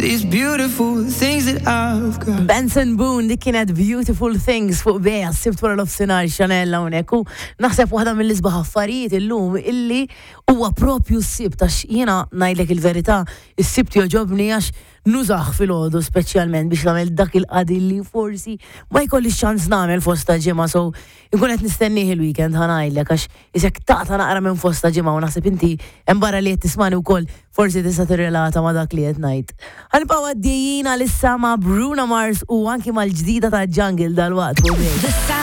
These beautiful things that I've got. Benson Boone dik kienet Beautiful Things fuq Bea sibt wara l-ofsinar Chanel hawnhekk u naħseb waħda mill-isbaħ affarijiet illum illi huwa propju s-sibt għax jiena ngħidlek il-verità is-sibt jogħġobni għax nużah filgħodu speċjalment biex nagħmel dak il-qadi li forsi ma jkollix ċans nagħmel fost ta' ġimgħa so inkun qed nistennieh il-weekend ħa ngħidlek għax Isek taqta' naqra minn fosta ġimgħa u naħseb inti hemm barra li qed tismani wkoll forsi tista' tirrelata ma' dak li qed ngħid. Ħa nibqgħu għaddejjin għalissa ma' Bruno Mars u anki mal-ġdida ta' Jungle dalwaqt fuq The sound.